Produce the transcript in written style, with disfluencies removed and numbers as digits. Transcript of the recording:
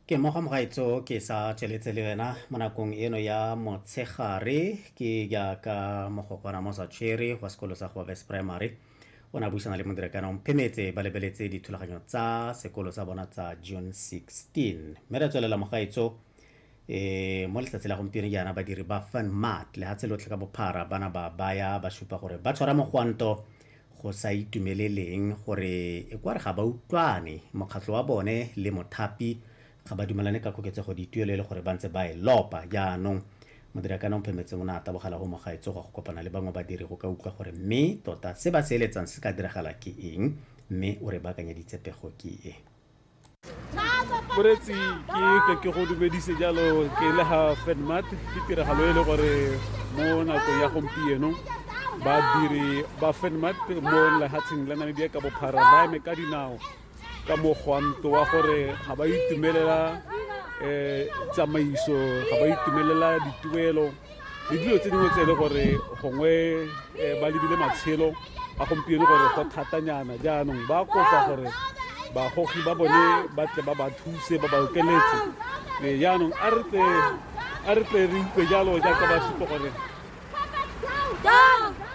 Ke mmogo mogaetso ke sa tsweletse le wena mo nakong eno ya motshegare. Ke jaaka mogokwana mo sa tshwere wa sekolo sa Gobabes Primary o ne a buisana le modirekana Mphemetse ba lebeletse dithulaganyo tsa sekolo sa bona tsa June 16. Mme re tswelela mogaetso, mo letsatsi la gompieno jaana badiri ba Funmart lehatshe lotlhe ka bophara bana ba baya ba supa gore ba tshwara mogwanto go sa itumeleleng gore e kwa re ga ba utlwane mokgatlho wa bone le mothapi ga ba dumelane ka koketsego dituelo e le gore ba ntse ba e lopa. Jaanong modirakana Mphemetse o ne a tabogela go mogaetso go kopana le bangwe badiri go ka utlwa gore mme tota se ba se eletsang se ka diragala ke eng, mme o re baakanyeditse pego ke e. Moretsi, ke ke go dumedise jalo ke le ga Fenmat. Ke tiragalo e le gore mo nakong ya gompieno badiri ba Fenmat mo lehatsheng la Namibia ka bophara ba eme ka dinao ka mogwanto wa gore ga ba itumelela tsamaiso, ga ba itumelela dituelo le dilo tse dingwe tse e le gore gongwe ba lebile matshelo a gompieno gore go thatanyana. Jaanong ba kopa gore bagogi ba bone ba tle ba ba thuse, ba ba okeletse. Jaanong a re tle re utlwe jalo jaaka ba supa gore Down!